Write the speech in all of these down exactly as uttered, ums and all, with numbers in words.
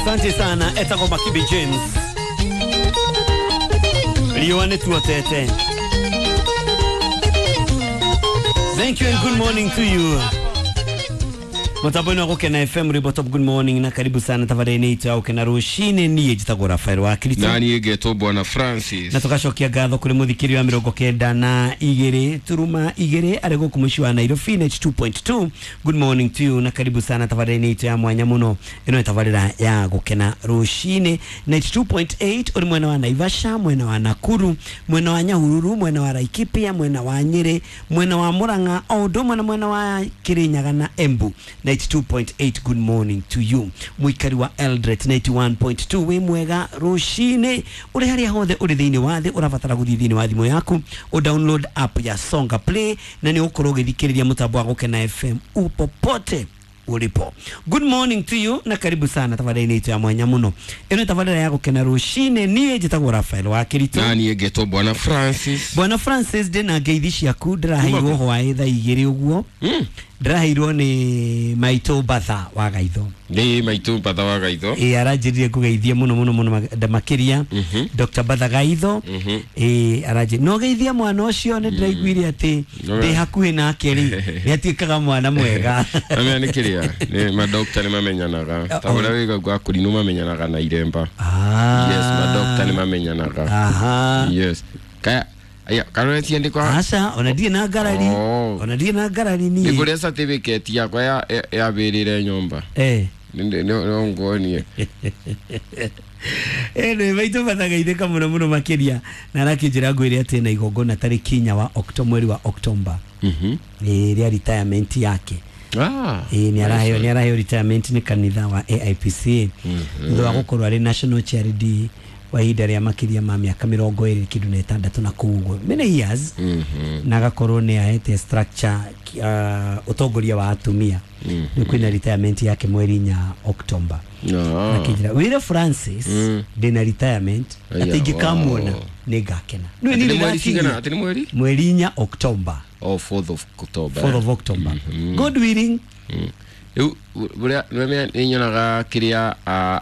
Asante sana etagwo Makibi James. Riũa nĩ tuotete. Thank you and good morning to you. Mutambo-inĩ wa Gũkena F M Rwĩmbo Top, good morning na karibu sana tabarĩra-inĩ itũ ya Gũkena rũcinĩ. Niĩ njĩtagwo Rafael wa Kristo na niĩ ngetwo Bwana Francis, na tũgacokia ngatho kũrĩ mũthikĩri wa mĩrongo kenda na igĩrĩ turuma igĩrĩ arĩ gũkũ mũciĩ wa Nairobi ninety two point two. Good morning to you na karibu sana tabarĩra-inĩ itũ ya mwanya mũno. Ĩno nĩ tabarĩra ya Gũkena rũcinĩ ninety two point eight ũrĩ mwena wa Naivasha, mwena wa Nakuru, mwena wa Nyahururu, mwena wa Laikipia, mwena wa Nyeri, mwena wa Murang'a, o ũndũ ũmwe na mwena wa Kirinyaga na Embu ninety two point eight. Good morning to you. Muikari wa Eldoret ninety one point two, wĩ mwega rũcinĩ ũrĩ harĩa hothe ũrĩ thĩinĩ wa thĩ ũrabatara gũthiĩ thĩinĩ wa thimũ yaku o download app ya Songa Play na nĩ ũgũkorwo ũgĩthikĩrĩria mũtambo wa Gũkena F M upopote ulipo. Good morning to you na karibu sana tabarĩra-inĩ itũ ya mwanya mũno. Ĩno nĩ tabarĩra ya Gũkena rũcinĩ. Niĩ njĩtagwo Rafael wa Kirito na niĩ ngetwo Bwana Francis. Bwana Francis, ndĩna ngeithi ciaku ndĩraheirwo hwaĩ thaa igĩrĩ ũguo. Ndĩraheirwo nĩ maitũ Batha wa Gaitho. Nĩ maitũ Batha wa Gaitho. Ĩ aranjĩrire ngũgeithie mũno mũno mũno makĩria Doctor Batha Gaitho. Ĩ aranjĩrire no geithia mwana ũcio, nĩ ndĩraiguire atĩ ndĩ hakuhĩ nake rĩ nĩ atuĩkaga mwana mwega. Amenya nĩ kĩrĩa nĩ madoctor nĩ mamenyanaga ta ũrĩa wĩga gwa kũrinũ mamenyanaga na iremba. Yes, madoctor nĩ mamenyanaga. Aha. Yes. Kaya aya karore ciandĩkwa aca ona ndirĩ na ngarari, ona ndirĩ na ngarari niĩ nĩ kũrĩa certificate yakwa ya yabĩrĩre nyũmba eh no nguonie eh nĩ maitũ Batha mũno mũno makĩria na arakĩnjĩra ngwĩre atĩ na igongona tarĩki inya wa Oktoba, mweri wa Oktoba mhm nĩ rĩa retirement yake. Ah, eh ni araheo ni araheo retirement nĩ kanitha wa A I P C thutha wa gũkorwo arĩ national charity wa ihinda rĩa makĩria ma mĩaka mĩrongo ĩrĩ kĩndũ na ĩtandatũ na kũu ũguo many years, na agakorwo nĩ ahete structure uh, ũtongoria wa atumia. Nĩ kwĩna retirement yake mweri inya Oktoba. Akĩnjĩra wĩre Francis ndĩna retirement atĩ ingĩkamuona nĩ ngakena. Nĩ mweri cigana? Atĩ nĩ mweri mweri inya Oktoba. Oh, fourth of October. fourth of October. God willing. Rĩu ũrĩa nĩ nyonaga kĩrĩa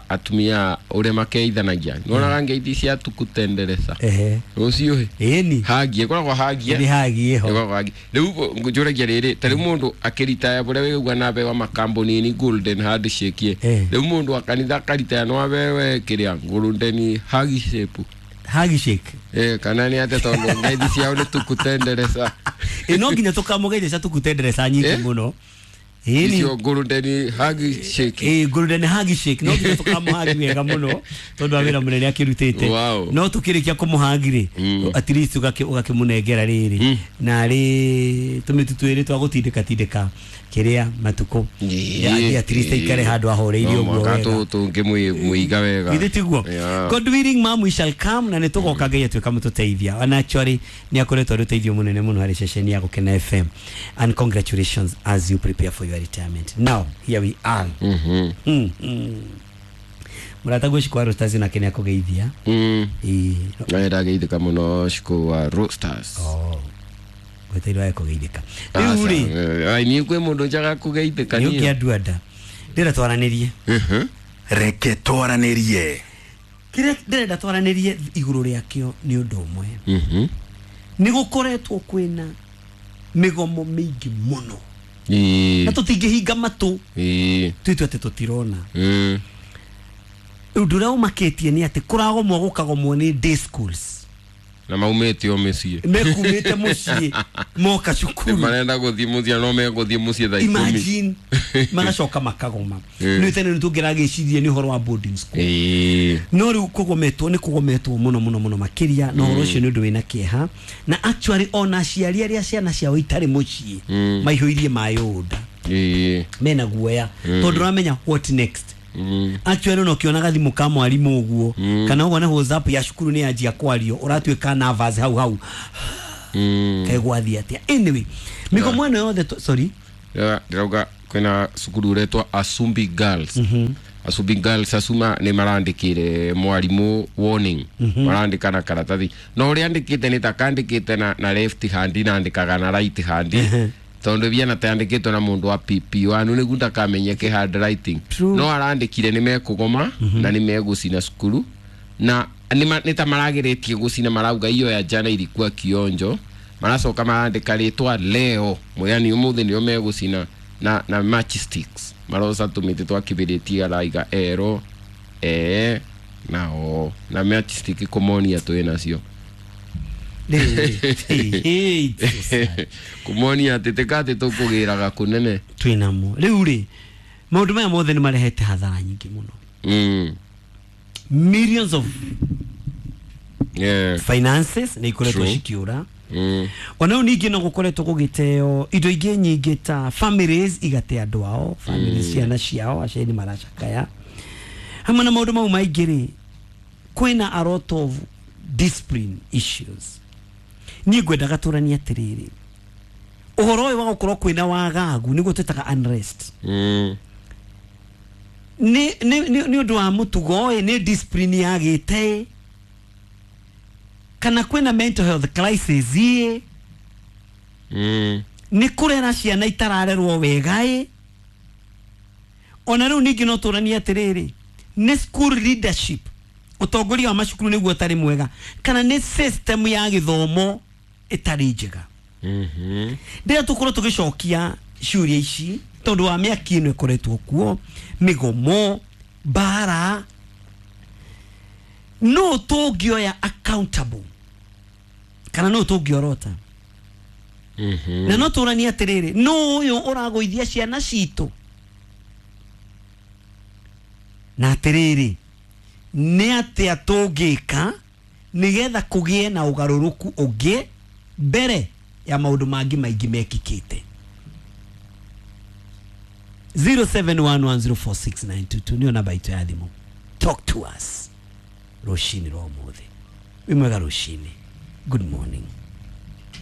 atumia ũrĩa makeithanagia nyonaga ngeithi cia tukutendereza rũciũ ĩni hagie ĩkoragwo hagie nĩ hagie ho ĩkoragwo hagie. Rĩu njũragia rĩrĩ ta rĩu mũndũ akĩritaya bũrĩa wĩigua na abewa makambuni-inĩ golden handshake, rĩu mũndũ wa kanitha akaritaya no abewe kĩrĩa golden handshake handshake eh kana nĩ atĩa tondũ ngeithi ciao nĩ tukutendereza ĩ no nginya tũkamũgeithia cia tukutendereza nyingĩ mũno. Icio golden handshake eh golden handshake no nginya tũkamũhagi wega mũno tondũ wa wĩra mũnene akĩrutĩte. No tũkĩrĩkia kũmũhagi rĩ at least ũgakĩmũnengera rĩrĩ na rĩ tũmĩtu twĩrĩ twa gũtindĩka tindĩka kĩrĩa matukũ ya at least aikare handũ ahoreirie ũguo wega tũngĩmũiga wega githĩ tiguo. God willing mom we shall come na nĩ tũgoka Ngai atuĩka mũtũteithia. And actually nĩ akoretwo arĩ ũteithio mũnene mũno harĩ ceceni ya Gũkena F M, and congratulations as you prepare for your retirement. Now here we are. Mhm. Mm. Mũrata Cikũ wa Roasters nake nĩ akũgeithia. Mm. Ĩĩ. Na ndageithĩka mũno Cikũ wa Roasters. Oh. Gweteirwo ya kũgeithĩka. Rĩu rĩ, ai niĩ kwĩ mũndũ njaga kũgeithĩka niĩ. Niĩ Ũkĩanduanda. Ndĩrenda twaranĩrie. Mhm. Reke twaranĩrie. Kĩrĩa ndĩrenda twaranĩrie igũrũ rĩakĩo nĩ ũndũ ũmwe. Mhm. Nĩ gũkoretwo kwĩna mĩgomo mĩingĩ mũno. Ĩĩ. Na tũtingĩhinga matũ. Ĩĩ. Twĩtue atĩ tũtirona. Mm. Ũndũ ũrĩa ũmakĩtie nĩ atĩ kũragomwo gũkagomwo nĩ day schools. Na maumĩte o mĩciĩ. Mekumĩte mũciĩ moka cukuru. Marenda gũthiĩ mũciĩ no megũthiĩ mũciĩ thaa ikũmi. Imagine magacoka makagoma. Nĩ tene nĩ tũngĩragĩcirie nĩ ũhoro wa boarding school. Ĩĩ. No rĩu kũgometwo nĩ kũgometwo mũno mũno mũno makĩria na ũhoro ũcio nĩ ũndũ wĩna kĩeha. Na actually ona aciari arĩa ciana ciao itarĩ mũciĩ maihũirie maĩ ũnda. Ĩĩ. Mena guoya tondũ ũramenya what next. Mm. Actually no kĩonaga thimũ ka mwarimũ ũguo kana ũguo na WhatsApp ya cukuru nĩ yanjia kwario ũratuĩka nervous hau hau. Mm. Kegwathi atĩa. Anyway, mĩgomo ĩno yothe sorry. Ndĩrauga kwĩna cukuru ũretwo Asumbi Girls. Asumbi Girls asuma nĩ marandĩkire mwarimũ warning. Marandĩka na karatathi. No ũrĩa andĩkĩte nĩ ta kandĩkĩte na na left hand na andĩkaga na right hand. Tondu biana tandikitwo na mundu wa P P one niguo ndakamenyeke handwriting. True. No arandikire ni mekugoma na ni megucina cukuru na nĩ ta maragĩrĩtie gũcina marauga iyo ya jana ilikuwa kionjo maracoka marandĩka rĩtwa leo yani ũmũthĩ nĩo megũcina na na matchsticks maroca tũmĩtĩ twa kĩbĩrĩti araiga ero e na o na matchstick kũmonia twĩ nacio kũmonia atĩ tĩkatĩ tũkũgĩraga kũnene twĩnamo rĩu rĩ maũndũ maya mothe nĩ marehete hathara nyingĩ mũno. Mm. Millions of yeah. finances nä ikoretwo cikiura. Mm. Ona rĩu ningĩ no gũkoretwo gũgĩteo indo ingĩ nyingĩ ta families igate andũ ao families Mm. ciana ciao aciari maracakaya hamwe na maũndũ mau maingĩ rĩ kwĩna a lot of discipline issues. Niĩ ngwendaga tũranie atĩrĩrĩ ũhoro ũyũ wa gũkorwo kwĩna wagagu nĩguo twĩtaga unrest. Mm. Nĩ nĩ nĩ ũndũ wa mũtugo ĩ nĩ discipline yagĩte kana kwĩna mental health crisis ĩ mm. nĩ kũrera ciana itararerwo wega ĩ ona rĩu ningĩ no tũranie atĩrĩrĩ nĩ school leadership ũtongoria wa macukuru nĩguo ũtarĩ mwega kana nĩ system ya gĩthomo ĩtarĩ njega. Mhm. Ndĩrĩa tũkorwo tũgĩcokia ciũria ici tondũ wa mĩaki ĩno ĩkoretwo kuo mĩgomo mbara no tũngĩoya accountable kana no tũngĩorota. Mhm. Na no tũranie atĩrĩrĩ no ũyũ ũragũithia ciana citũ na atĩrĩrĩ nĩ atĩa tũngĩka nĩgetha kũgĩe na ũgarũrũku ũngĩ mbere ya maũndũ mangĩ maingĩ mekĩkĩte. zero seven one one zero four six nine two two niyo namba itũ ya thimũ. Talk to us rũcinĩ rwa ũmũthĩ. Wĩ mwega rũcinĩ. Good morning.